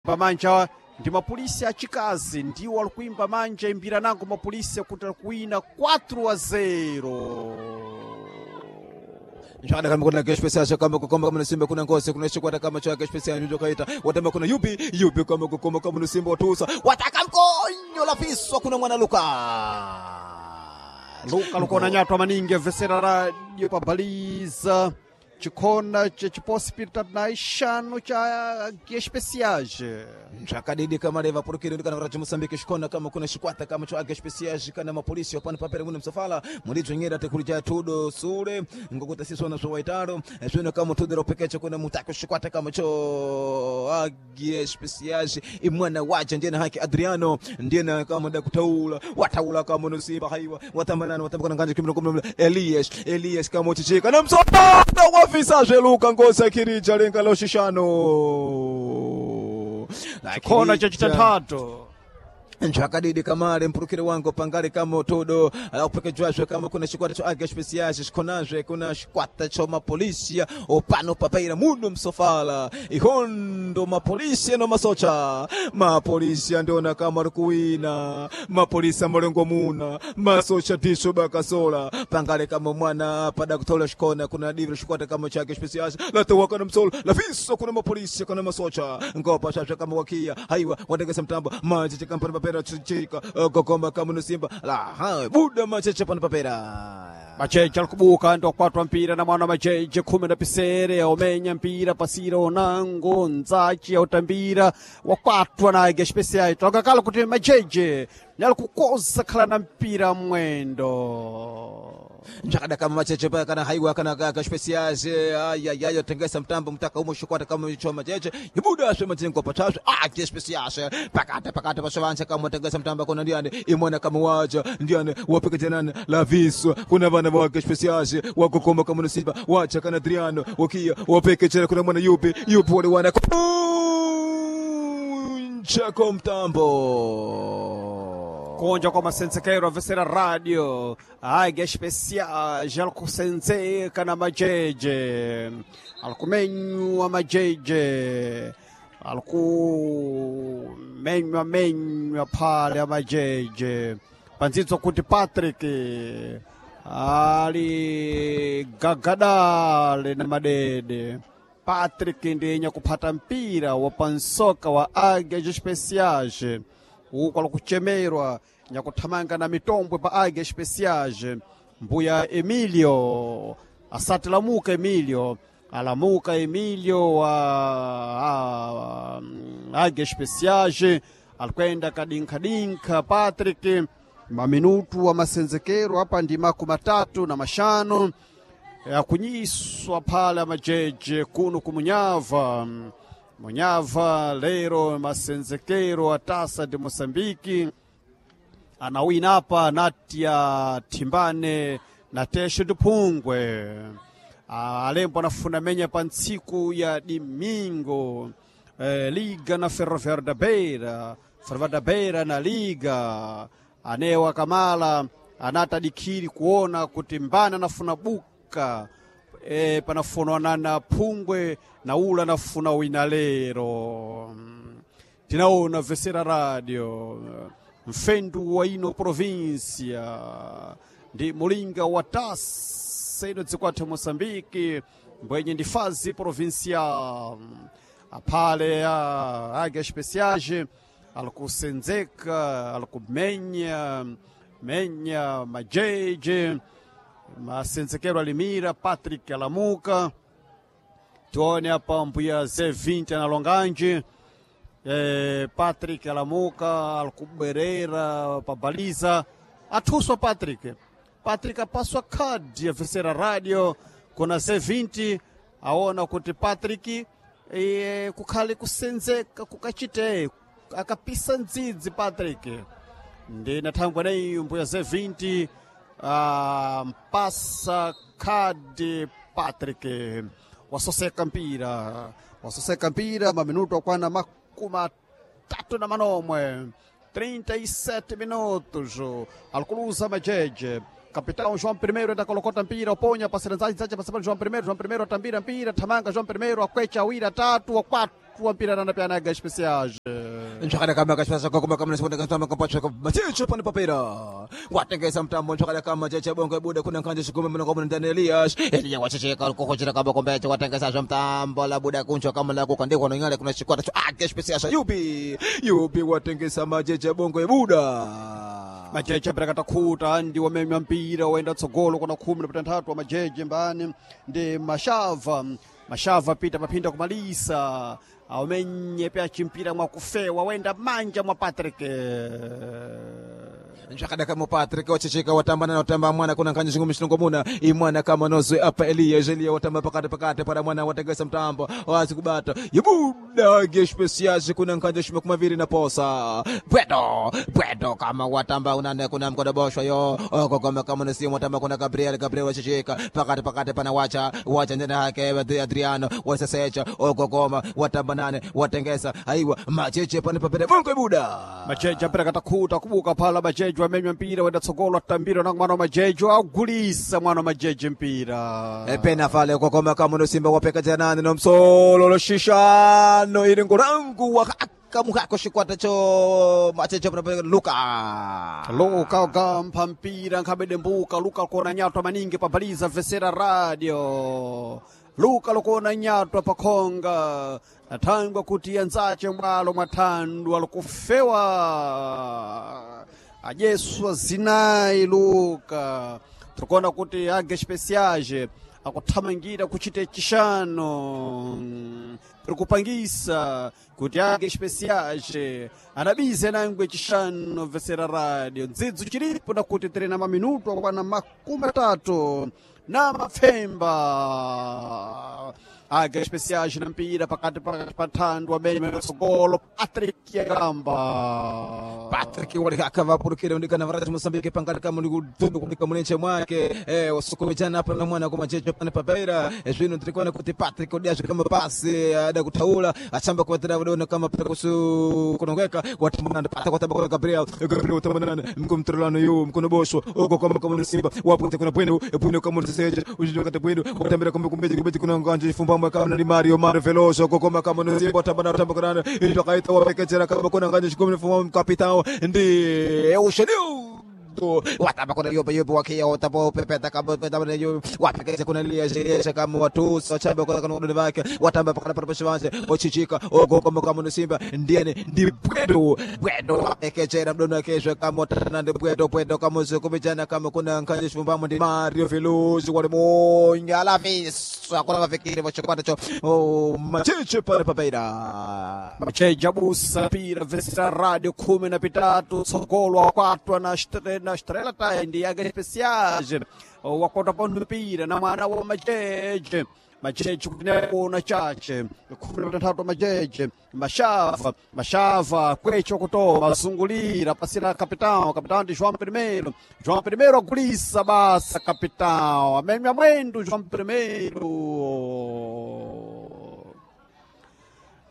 Pamanja ndi mapulisi achikazi ndiwo ali kuimba manja imbira nango mapulisi kuti ali kuwina 4-0. Nshada kama kuna kesho pesa kama kukoma kama Simba kuna ngozi kuna shikwata kama cha kesho pesa ndio kaita watamba kuna yupi yupi kama kukoma kama Simba watusa wataka mkonyo la fiswa kuna mwana Luka. Luka lukona nyatwa maningi vesera radio pabaliza chikhona chechiposipita na ixanu cha especiais. Zvakadidi kamareva purukiro kana kuti Mozambique xikona kama kuna xikwata kama cho aga especiais kana mapolisi wapano papera muno msafala mulidzwenyera tekulija tudo sule ngokuti sisona swo waitalo swino kama tudero pekeche kuna mutako xikwata kama cho aga especiais imwana waja ndiyena hake Adriano ndiyena kama da kutaula wataula kama nusiba haiwa watambanana watambakana nganje kimino kumno Elias Elias kama uchichika na msafala wafisa zveluka ngosa kirija lenga loshishano. Chikhona chachitatu. Nchakadidi kamale mpurukire wangu pangali kama todo upekejwazwe kama kuna chikwata cho aga especiais xikhonazve kuna xikwata cho mapolisia opano papaira muno msofala ihondo mapolisia no masocha mapolisia ndona kama ari kuwina mapolisa malengo muna masocha diso bakasola pangale kama mwana pada kutola xikhona kuna divira xikwata kama chake especiais latowaka na msolo lafiso kuna mapolisia kuna masocha ngopa shasha kama wakia haiwa watengesa mtambo macheche kampani papera chichika gogoma kama nusimba la ha buda macheche pano papera. Macheche alikubuka ndo kwatwa mpira na mwana macheche khumi na pisere aumenya mpira pasira onango nzachi autambira wakwatwa na aga especiais tokakala kuti macheche nyalikukoza khala na mpira mwendo. Njakada kama macheche pa kana haiwa kana kaka specials ay ay tengesa mtambo mtaka umo shikwata kama cho macheche ibuda aswe majengo patazwe ah ke specials pakata pakata pasovanza kama tengesa mtambo kuna ndiane imona kama waja ndiane wapeke jenana la viswa kuna vana wake specials wakokoma kama nusiba wacha kana Adriano wakia wapeke jena kuna mwana yupi yupi wale wana kunja kwa mtambo. Kunja kwa masensekero avesera radio aga especiais alikusenzeka na majeje alikumenywa majeje alikumenywa menywa pale amajeje panzidzo kuti Patrick ali gagadale na madede. Patrick ndiye kuphata mpira wa pansoka wa Águias Especiais uku alikuchemerwa nyakuthamanga na mitombwe pa Águias Especiais. Mbuya Emilio asati lamuka Emilio alamuka Emilio wa Águias Especiais alikwenda kadinkadinka Patrick maminutu wa masenzekero apa ndi makumi matatu na mashanu yakunyiswa pale majeje kuno kumunyava munyava lero masenzekero atasa de Moçambique anawina apa natia thimbane na tesho diphungwe alembo anafuna menya pa ntsiku ya dimingo liga na Ferroviário da Beira, Ferroviário da Beira na liga anewa kamala anatadikiri kuona kuti mbana anafuna buka panafunana na phungwe na ula anafuna wina lero. Tinaona vesera radio mfendu wa ino província ndi mulinga wa tasa ino dzikwathu Moçambique mbwenye ndi fazi provincial aphale a Águias Especiais alikusenzeka alikumenya menya majeje masenzekero alimira Patrick alamuka tione apa mbuya Z20 analonganji Patrick alamuka alikubwerera pabaliza athuswa Patrick. Patrick apaswa khadi ya vesera radio kuna Z20 aona kuti Patrick kukhale kusenzeka kukachite akapisa ndzidzi Patrick ndi nathangwa nayi mbuya Z20 mpasa khadi Patrick wasoseka mpira wasoseka mpira maminuto akwana makumi atatu na manomwe 37 minutos alikuluza majeje Capitão João I enda kolokota mpira uponya pasira nzachi nzachi pasipano João I João I atambira mpira thamanga João I akwecha awiri atatu akwatu. Wakwatwa mpira na pyana Águias Especiais. Nchakada kama kashasa kwa kama nasonda kama kampacha kwa macheche pane papera watengesa mtambo nchakada kama cheche bongo buda kuna kanje shikume mna kwa ndani Elias Elia wachecheka kwa kochera kama kombe watengesa za mtambo la buda kuncho kama la kukandikwa na ngale kuna chikwata cho Águias Especiais yupi yupi watengesa macheche bongo buda. Majeje aperekata ndi wamemya mpira waenda tsogolo kuna 13 wa majeje mbani ndi Mashava. Mashava pita paphinda kumalisa aumenye pya chimpira mwakufewa wenda manja mwa Patrick. Nchakada kama Patrick wachecheka watamba na watamba mwana kuna kanje shingumi shilongo muna imwana kama nozwe apa Elia Elia watamba pakati pakati para mwana watengesa mtambo wazi kubata yebuda Águias Especiais kuna nkanje shima kumaviri na posa bwedo bwedo kama watamba unane kuna mkodo boshwa yo oko kama kama nasi watamba kuna Gabriel Gabriel wachecheka pakati pakati pana wacha wacha ndena yake Adriano wasesecha oko koma watamba nane watengesa aiwa macheche pane papere bongo buda. Majeje aperekata khuta kubuka phala majeje wamenywa mpira wenda tsogolo atambira na mwana wa majeje agulisa mwana wa majeje mpira. Pena fale kokoma kama no simba wapeka janani no msolo lo shishano ili ngurangu wakaka muhako shikwata cho machecho pana Luka. Luka ugampha mpira nkhabede mbuka Luka kuona nyatwa maningi pabaliza vesera radio Luka lukuona nyatwa pakhonga athangwa kuti anzace mwalo mwathandu alikufewa adyeswa zinayi Luka. Tikuona kuti Águias Especiais akuthamangira kuchita chishano tikupangisa kuti Águias Especiais adabize nangwe chishano vesera radio ndzidzo chilipo nakuti tiri na maminuto akwana 30 na mapfemba. Águias Especiais na mpira pakati pa thandu amene matsogolo Patrick Yagamba. Patrick walikaka vapurukire ndikana varati Mozambique pangati kama ndikutundu kunika mulenche mwake wasukumijana hapa na mwana kwa machecho pane papera zvino tirikuona kuti Patrick odiazve kama pasi ada kutaula achamba kuvatira vadona kama kusu kunongeka watambanana pata kwatamba kwa Gabriel Gabriel watambanana mkumtrolano yu mkono bosho uko kama kama Simba wapo kuna bwino bwino kama mseje ujijo kata bwino watambira kumbe kumbe kumbe kuna nganje fumbamba kama ni Mario Mario Veloso uko kama kama Simba watambana watamba kuna ndio kaita wapekechera kama kuna nganje shikumbe fumbamba kapitao ndi Eugenio watamba kuna yope yope wakia watapo pepeta kama pepeta kuna yope wapekeze kuna lia lia kama watu wachamba kuna kuna kuna wake watamba pakana para pashivanze ochichika ogo kama kama no Simba ndiene ndi bwedo bwedo wapekechera mdono kesho kama watana ndi bwedo bwedo kama usikumijana kama kuna nkanje shumbamo ndi Mario Veloso wale monya la visa kuna mafikiri wachokwata cho oh machiche pale papeira. Macheja abusa mpira vesera radio 13 tsogolo wakwatwa na na Estrela tayi ndi Águias Especiais wakwatwa pa mpira na mwana wa majeje majeje kutinekuna chache 13 majeje Mashava Mashava kwecho kutoma azungulira pasira capitão capitão de João Primeiro João Primeiro agulisa basa capitão amemya mwendo João Primeiro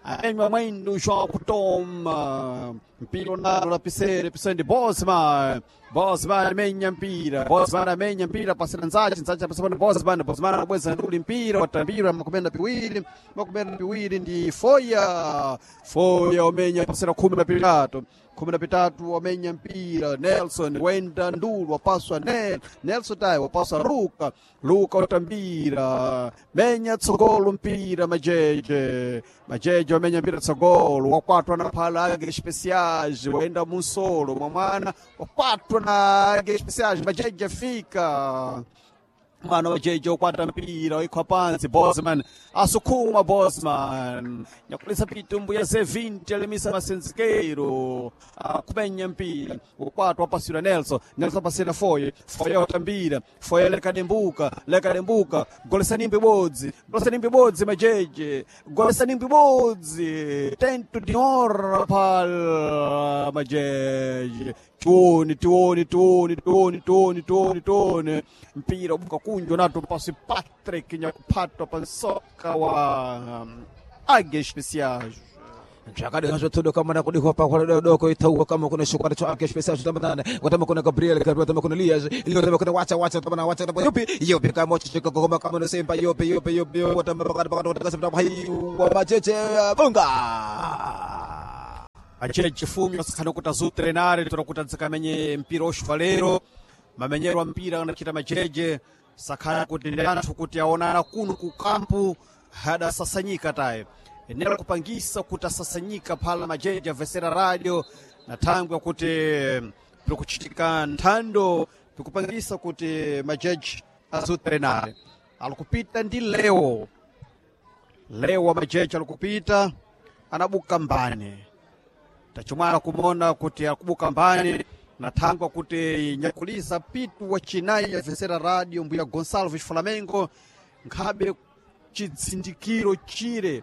amemya mwendo João kutoma mpira unalo la pisere pisere ndi Bosman Bosman amenya mpira Bosman amenya mpira pasira Nzachi Nzachi apasira Bosman Bosman abweza nduli mpira watambira 22 22 ndi Foya Foya omenya pasira 13 13 wamenya mpira Nelson wenda ndulu wapaswa Nelson tayi wapaswa Luka Luka utambira menya tsogolo mpira majeje majeje wamenya mpira tsogolo wakwatwa na phala Águias Especiais wenda munsolo mwamwana wakwatwa na Águias Especiais majeje fika mwana wa jeje ukwata mpira oikhwa pansi Bosman asukuma Bosman nyakulisa pitumbu ya Z20 alimisa masenzikeiro akumenya mpira ukwatwa apasira Nelson Nelson apasira Foye Foye otambira Foye lekadembuka lekadembuka golesa nimbi bodzi golesa nimbi bodzi majeje golesa nimbi bodzi tento de honra pal majeje tione tione tione tione tione tione tione mpira ubuka kunjwa nato pasi Patrick nyakuphatwa pansoka wa Águias Especiais. Chakade hacho todo kama na kudikwa pa kwa doko itauka kama kuna shukwara cho ake special tamana watama kuna Gabriel Gabriel watama kuna Elias Elias watama kuna wacha wacha watama na wacha watama yopi yopi kama chichika kama kama no sempa yopi yopi yopi watama pakata pakata wataka sempa hai wa macheche bunga. Macheche fumi wasakhana kuti azutrenare toda kuti adzikamenye mpira oxvalero mamenyero a mpira anachita macheche sakhala kuti ndi anthu kuti aonana kuno ku kampu hadasasanyika taye enera kupangisa kuti asasanyika phala majeje avesera radio na thangwi yakuti pikuchitika nthando pikupangisa kuti majeje azutrenare alikupita ndi leo leo wa majeje alikupita anabuka mbane tachimwana kumona kuti akubuka mbani na thangwa kuti nyakulisa pitu wa chinayi yavesera radio mbuya Gonçalves Flamengo nkhabe chidzindikiro chire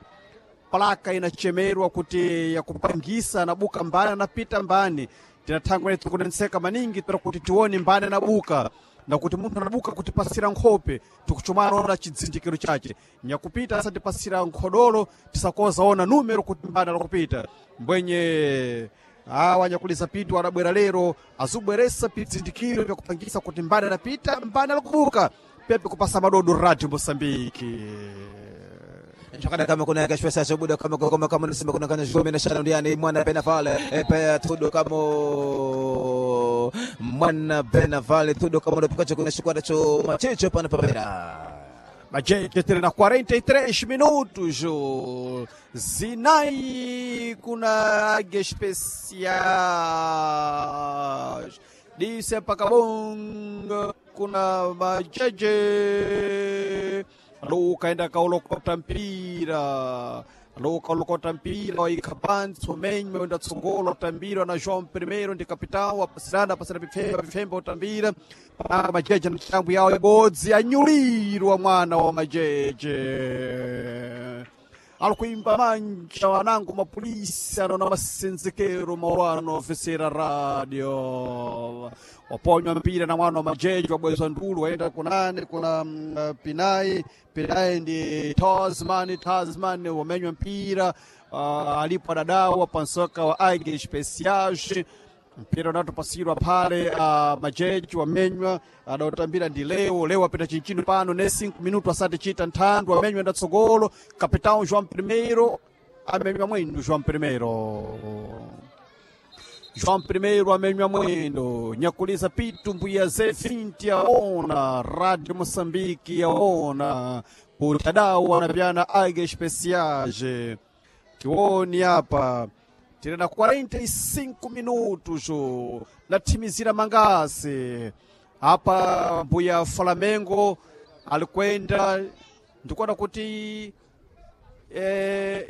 plaka inachemerwa kuti yakupangisa anabuka mbani anapita mbani tinathangwa netu kunenseka maningi toda kuti tione mbani anabuka nakuti munthu anabuka kutipasira nkhope tikuchumana ona chidzindikiro chache nyakupita asatipasira nkhodolo tisakoza ona numero kuti mbani alakupita mbwenye awa nyakulisa pitu adabwera lero azubweresa pidzindikiro vyakupangisa kuti mbani anapita mbani alakubuka pepe kupasa madodo radio Mosambiki. Chakada kama kuna kashfa sasa buda kama kama kama nasema kuna kana shome na shana ndiani mwana Benavale epe tudo kama mwana Benavale tudo kama ndo kuna shikwada cho machecho pana papera. Majeje tiri na 43 minutos. O Zinai kuna águia especiais. Disse Pacabonga kuna majeje. Luka enda kaulokota mpira. Luka ulokota mpira waika pantsi umenywa wenda tsogolo utambira na João Primeiro ndi capitão apasirana apasirana pifemba pifemba utambira pananga majeje na mitambo yawo ibodzi anyulirwa mwana wa majeje alikuimba manja wanangu mapolisi anona masenzekero maulano ofisera radio waponywa mpira na mwana wa majeje wabwezwa ndulu waenda kunane kuna pinai pinai ndi Tasman Tasman wamenywa mpira alipo adadawa pansoka wa Águia Especiais mpira unatopasirwa pale majeji wamenywa adautambira ndi leo leo apita chinchino pano ne 5 minuto asati chita nthandu wamenywa ndatsogolo capitão João Primeiro amenywa mwendo João Primeiro João Primeiro amenywa mwendo nyakulisa pitu mbuya Z20 yaona Radio Moçambique yaona kuti adawu anavyana Águia Especiais tioni apa tiri na 45 minutos nathimizira mangasi apa mbuya Flamengo alikwenda ndikuona kuti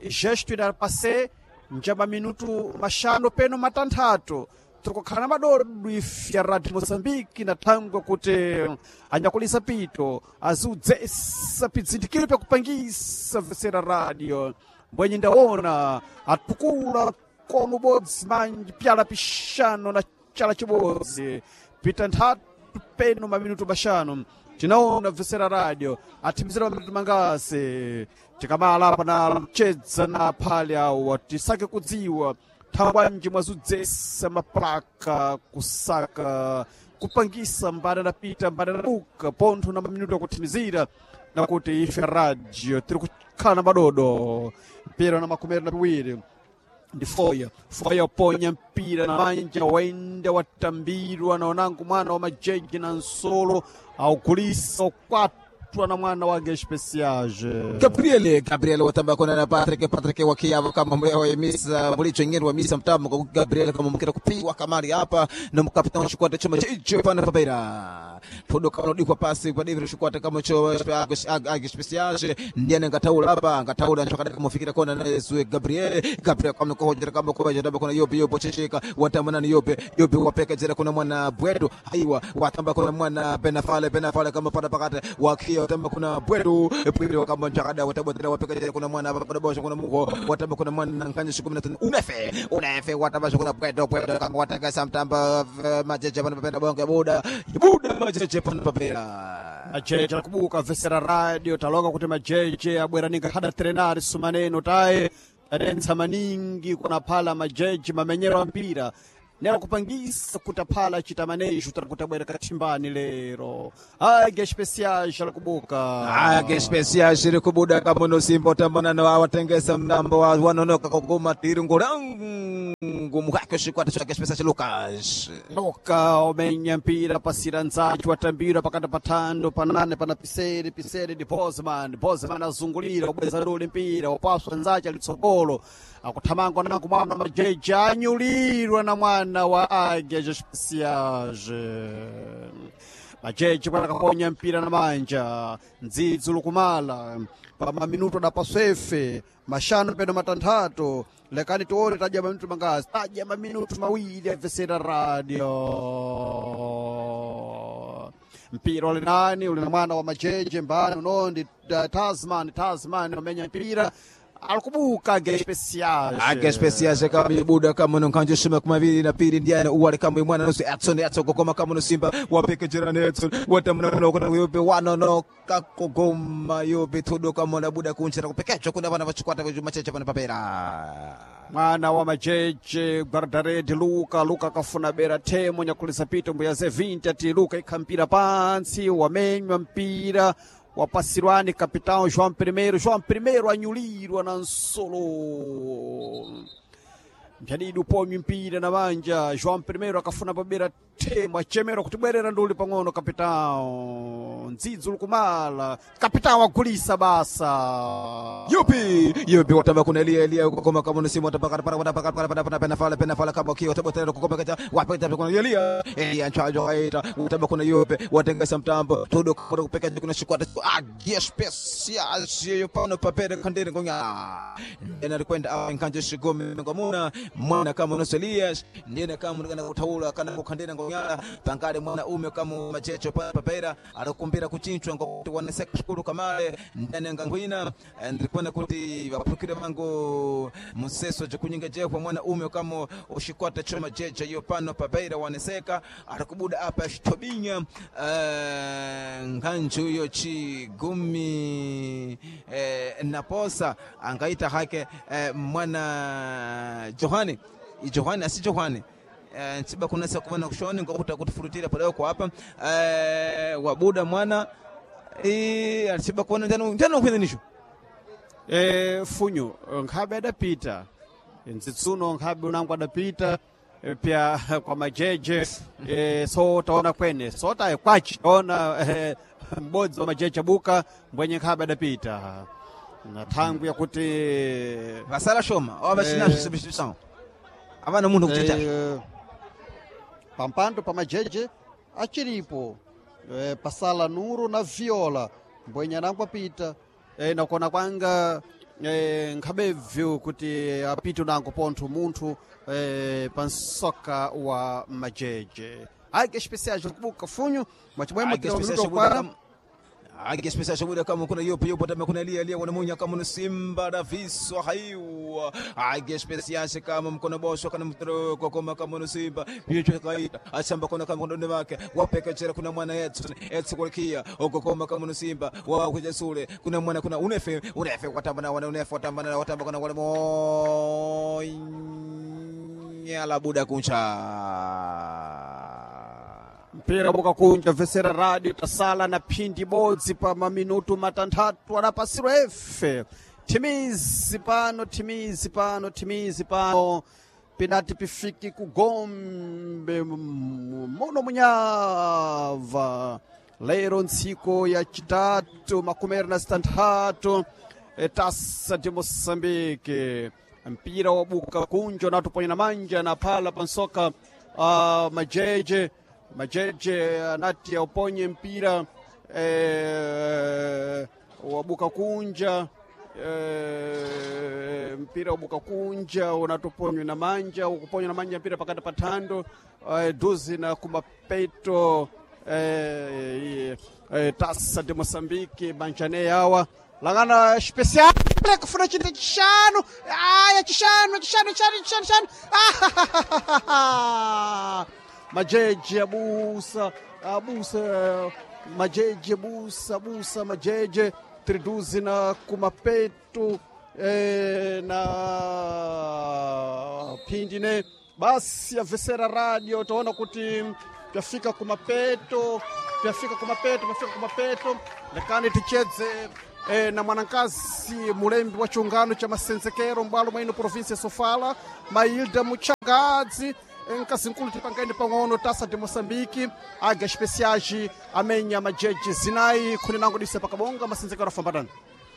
gesto inapase njama minutu mashanu peno matanthatu tikukhala na madodo ife ya Radio Mozambique na thangwe kuti anyakulisa pito aziudzesa pidzindikiro pyakupangisa vesera radio mbwenye ndaona atukula kono bodzi manji pyala pixano na chala chibodzi pita nthatu peno maminutu maxanu tinaona vesera radio athimizira maminutu mangasi tikamala apa na mchedza na phale awa tisake kudziwa thangwanji mwazudzesa maplaka kusaka kupangisa mbada napita mbada nabuka pontho na maminutu akuthimizira nakuti ife radio tiri kukhala na madodo mpira na makumi na piwiri ndi foya foya ponya mpira na manja waenda watambirwa na onangu mwana wa majeji na nsolo augulisa ukwatwa na mwana wake especiage Gabriel Gabriel watamba kona na Patrick Patrick wakiavo kama mwe misa mulicho ngeni wa misa mtamo kwa Gabriel kama mkira kupigwa kamari hapa na mkapitano shikwata choma chicho pana papera todo kama dikwa pasi kwa David shikwata kama cho ag special ndiye ngataula hapa ngataula nchokada kama fikira kona na Yesu Gabriel Gabriel kama ko hojera kama ko hojera kona yope yope checheka watamba nani yope yope wapeka jera kuna mwana Bwedo aiwa watamba kuna mwana Benafale Benafale kama pada pakate wakia watamba kuna Bwedo Bwedo kama nchakada watabotera wapeka jera kuna mwana pada bosha kuna mugo watamba kuna mwana nkanya siku 15 unefe unefe watamba kuna Bwedo Bwedo kama wataka samtamba majeje pana papera bonge buda buda majeje pana papera majeje akubuka vesera radio taloka kuti majeje abwera ninga hada trenari sumaneno taye Yadentsa maningi kuna phala majeji mamenyero a mpira nera kupangisa kutaphala chitamanejo tari kutabwera kathimbani lero. Águia Especiais alikubuka. Águia Especiais iri kubuda kamuno Simba utambanano awatengesa mdambo wa wanonoka kuguma tiringo rangu muhake chikwata cha Águia Especiais Lucas. Luka omenya mpira pasira nzachi watambira pakati pathando panane pana pisere pisere ndi Bosman. Bosman azungulira ubweza dole mpira wapaswa nzachi alitsogolo akuthamanga nangu mwana majeji anyulirwa na mwana wa Águia Especiais. Majeji bwana kaponya mpira na manja ndzidzi lukumala pa maminuto adapaswefe mashanu peno matanthatu. Lekani tione tadya maminuto mangazi, tadya maminuto mawiri abvesera radio. Mpira uli nani? Uli na mwana wa majeje mbani unondi Tasman. Tasman amenya mpira alikubuka Águia Especiais. Águia Especiais kama ibuda kama no nkanjo shima kumaviri na pili ndiana uwale kama mwana nusu Edson Edson kokoma kama no Simba wapeke jirani Edson watamna kuna kuna yope wanono kakogoma yope todo kama na buda kunchera kupekecho kuna vana vachikwata macheche pana papera. Mwana wa majeje guardaredi Luka. Luka akafuna bera themo nyakulisa pito mbuya ze 20 ati Luka ikha mpira pantsi wamenywa mpira wapasirwani capitão João Primeiro. João Primeiro anyulirwa na nsolo mphyanidi uponywi mpira na manja. João Primeiro akafuna pabera themo achemerwa kuti bwerera nduli pang'ono capitão ndzidzi lukumala capitão agulisa basa. Yupi yupi watamba kuna Elia Elia kukoma kama no Simba watamba para para para para para pena fala pena fala kama kio watamba kukoma kacha wapeta kuna Elia Elia nchajo aita watamba kuna yupi watengesa mtambo todo kwa kupeka kuna shikwata Águia Especiais yo pano papere kandere ngonya ndena rikwenda awa nkanje shigome ngomuna mwana kama no Elias ndena kama kana kutaula kana kukandera ngonya pangale mwana ume kama machecho papera arakumbira kuchinchwa ngokuti waneseka shukuru kamale ndene ngangwina ndirikwenda kuti vapurukire vangu museso jekunyinga jekwa mwana ume kama ushikwata choma jeje yo pano pabeira waneseka arikubuda apa shitobinya nganju yo chigumi naposa angaita hake mwana Johani Johani asi Johani ntsiba kunasa kuvana kushoni ngokuti kutifurutira padoko apa wabuda mwana alitsiba kuona njano njano kwene Funyu nkhabe adapita nzitsuno nkhabe unangu adapita pya kwa majeje so taona kwene so taye kwachi taona m'bodzi wa majeje abuka mbwenye nkhabe adapita na thangwi yakuti vasala shoma avasina substitution avana munthu kuchicha pampando pa majeje achiripo pasala Nuru na Viola mbwenye anangu apita nakona kwanga nkhabebvyo kuti apite unango pontho munthu pansoka wa majeje. Águia Especiais kubuka funyu mwachimwemo kwana. Águia Especiais muda kama kuna yopo yopo tama kuna Elia Elia wanamunya kama ni Simba da Viso haiwa Águia Especiais kama mkono bosho kana mtroko kama kama ni Simba bicho kaita achamba kuna kama kuna wake wapeka chera kuna mwana yetu yetu kulikia okokoma kama ni Simba wa kuja sule kuna mwana kuna unefe unefe watamba na wana unefe watamba na watamba kuna wale monya la buda kuncha mpira bukakunja vesera radio tasala na phindi bodzi pa maminutu matanthatu adapasirwa efe thimizi pano thimizi pano thimizi pano pinati pifiki kugombe muno munyava lero ntsiku ya chitatu 23 tasa de Moçambique mpira wabuka kunja unatuponya na manja na phala pansoka majeje majeje anati auponye mpira wabuka kunja mpira wabuka kunja unatuponywa na manja ukuponywa na manja mpira pakati pathando duzi na kumapeto tasa de Moçambique manjane yawa langana especial kufuna chinthu chishanu aya chishanu chishanu chishanu chishanu chishanu. Majeje abusa abusa majeje busa busa majeje triduzi na kumapeto na phindine basi yavesera radio toona kuti pyafika kumapeto, pyafika kumapeto, pyafika kumapeto. Lekani tichedze na mwanankazi mulembi wa chiungano cha masenzekero mbwalo mwaino provinsia ya Sofala, Mailda Muchangadzi. Nkazi nkulu, tipangeni pang'ono tasa de Moçambique, aga especiais amenya majeji zinayi khuni nango dise pakabonga masenzekero afambatana.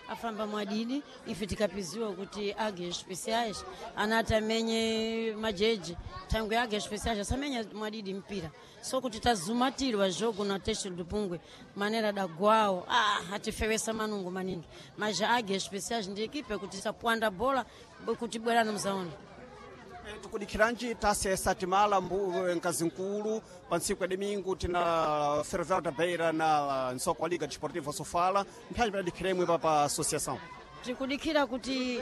Afamba mwadidi. Ife tikapiziwa kuti age especiais anati amenye majeji, thangwe age especiais asamenya mwadidi mpira, so kuti tazumatirwa jogo na Teste do Pungwe manera dagwawo, atifewesa manungo maningi, mas age especiais ndi ekipe kuti sapwanda bola kuti bwerani mzaona. Tukudikiranji tasa yasatimala nkazi nkulu pa ntsiku ya domingo tina Ferroviário da Beira na nsoko wa Liga Desportiva Sofala, mphanyi padadikhiremwe pa associação. Tikudikhira kuti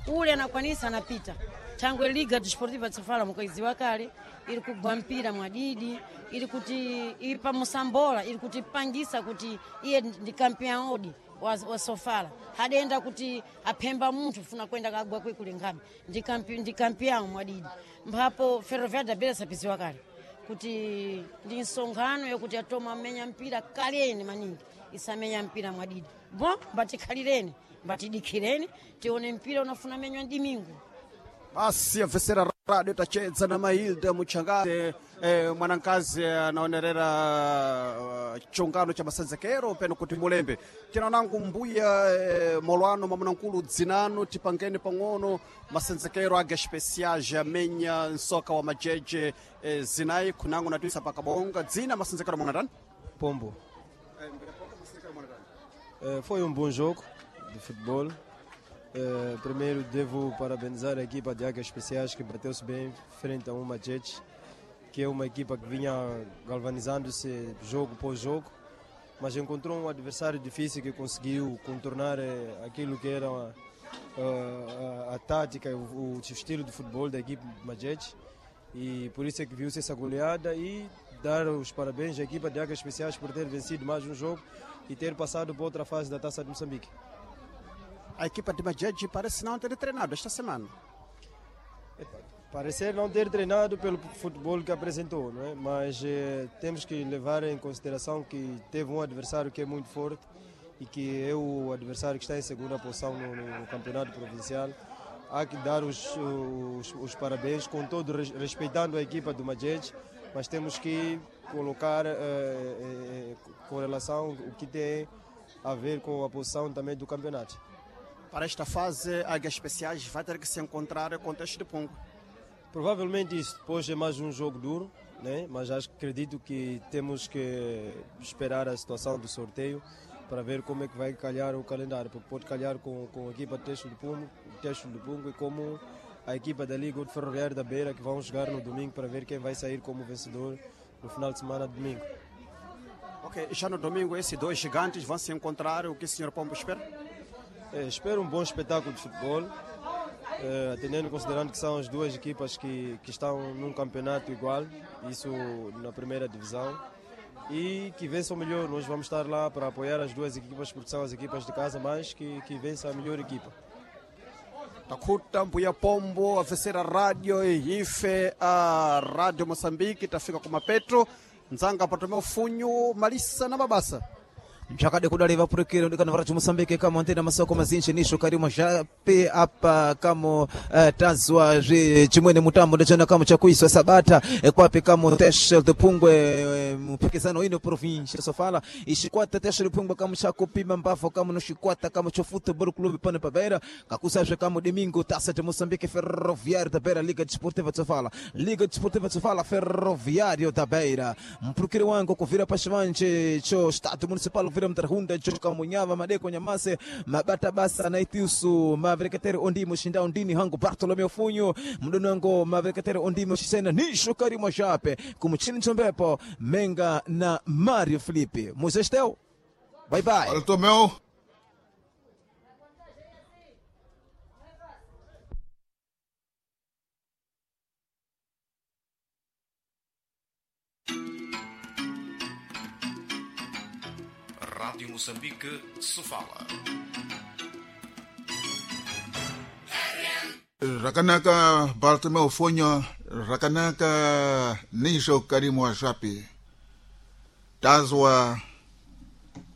ule anakwanisa anapita, thangwe Liga Desportiva Sofala mukaiziwa kale iri kugwa mpira mwadidi, iri kuti ipa musambola, iri kutipangisa kuti iye ndi kampion odi wa Sofala, hadenda kuti aphemba munthu funa kwenda kagwa kwikule nkhabe, ndi kampion mwadidi. Mphapo Ferroviário da Beira sapiziwa kale kuti ndi nsonkhano yakuti atoma amenya mpira kaleni maningi, isamenya mpira mwadidi bon, mbatikhalireni, mbatidikhireni tione mpira unafuna menywa ndimingu. Basi yavesera radio, tachedza na Mailda Muchangaze, mwanankazi anaonerera chiungano cha masenzekero peno kuti mulembe tina nangu mbuya molwano mwamunankulu dzinano, tipangeni pang'ono masenzekero aga especiais amenya nsoka wa majeje zinayi khunango natwisa pakabonga, dzina masenzekero mwanatani? Pombo. Foi um bom jogo de futebol. Primeiro devo parabenizar a equipa de Águias Especiais, que bateu-se bem frente a um Machete, que é uma equipa que vinha galvanizando-se jogo por jogo, mas encontrou um adversário difícil que conseguiu contornar aquilo que era a tática, o estilo de futebol da equipe Machete, e por isso é que viu-se essa goleada, e dar os parabéns à equipa de Águias Especiais por ter vencido mais um jogo e ter passado para outra fase da Taça de Moçambique. A equipa de Majeje parece não ter treinado esta semana. Parecer não ter treinado pelo futebol que apresentou, não é? Mas temos que levar em consideração que teve um adversário que é muito forte e que é o adversário que está em segunda posição no campeonato provincial. Há que dar os parabéns, com todo respeitando a equipa do Majeje, mas temos que colocar com relação o que tem a ver com a posição também do campeonato. Para esta fase, Águias Especiais vai ter que se encontrar com o Teste de Pungo. Provavelmente isso. Depois é mais um jogo duro, né? Mas acho, acredito que temos que esperar a situação do sorteio para ver como é que vai calhar o calendário, porque pode calhar com a equipa de Teste do Pungo, Teste do Pungo e como a equipa da Liga de Ferroviário da Beira, que vão jogar no domingo para ver quem vai sair como vencedor no final de semana de domingo. Ok, já no domingo esses dois gigantes vão se encontrar. O que o senhor Pombo espera? Espero um bom espetáculo de futebol, atendendo, considerando que são as duas equipas que estão num campeonato igual, isso na primeira divisão, e que vençam melhor. Nós vamos estar lá para apoiar as duas equipas, porque são as equipas de casa, mas que vença a melhor equipa. Takuta mbuya Pombo avesera radio ife a Radio Moçambique, tafika kuma Petro nzanga patomea ufunyu malisa na mabasa. Mchakade kudali vapurukiro ndikana varachu Moçambique kama antena masoko mazinji nisho karimo jape apa kamo tazwa zvi chimwene mutambo ndechana kamo chakuiswa sabata kwapi kamo Teste de Pungwe mpikisano ino província Sofala ixikwata Teste de Pungwe kamo chakupima mbafo kamo no xikwata kamo cho Futebol Clube pano pa Beira kakusazve kamo domingo Taça de Moçambique Ferroviário da Beira, Liga Desportiva de Sofala, Liga Desportiva de Sofala, Ferroviário da Beira, mpurukiro wangu kuvira pachivanje cho Estado Municipal vira mtarhunda chokamunyava madeko nyamase mabata basa naitiusu mavereketeri ondimo shinda ondini hangu Bartolomeu Funyo mdono wangu mavereketeri ondimo shisena nisho karimo jape kumuchini chombepo Menga na Mario Felipe Muzestel, bye bye. Olha, Tomeu. Rádio Moçambique, Sofala. Rakanaka Bartolomeu Fonyo, rakanaka Nijo Karimu wa Japi. Tazwa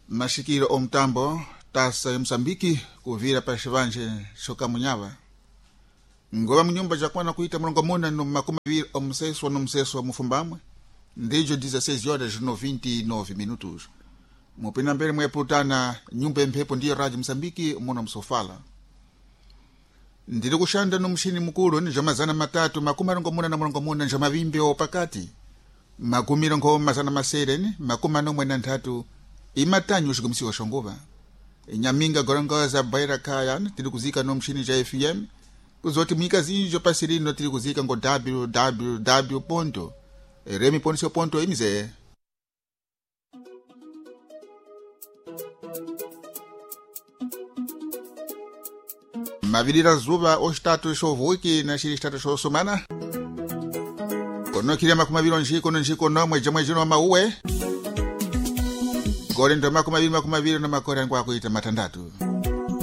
mashikiro omtambo tasa ya Msambiki kuvira pa xivanje xokamunyava. Ngova munyumba jakwana kuita mulongo muna no 20 omuseswa no museswa mufumbamwe. Ndijo 16 horas no 29 minutos. Mupina mbele mweputana nyumba emphepo ndiyo Radio Msambiki muno msofala. Ndiri kushanda no mshini mukulu ni jomazana matatu 84 njomavimbi opakati 293 imatanyu xikumisiwa xonguva inyaminga gorongoza baira kaya tiri kuzika no mshini ja FM kuzoti mwika zinjo pasirino tiri kuzika ngo www ponto remi ponto ponto imize. Mavirira zuva oxitatu xovuki na xiri xitatu xosumana konokilya 20 njiko no njiko nomwe jomwe jino mauwe gore ndo 20 20 na makore angwa kuita matandatu.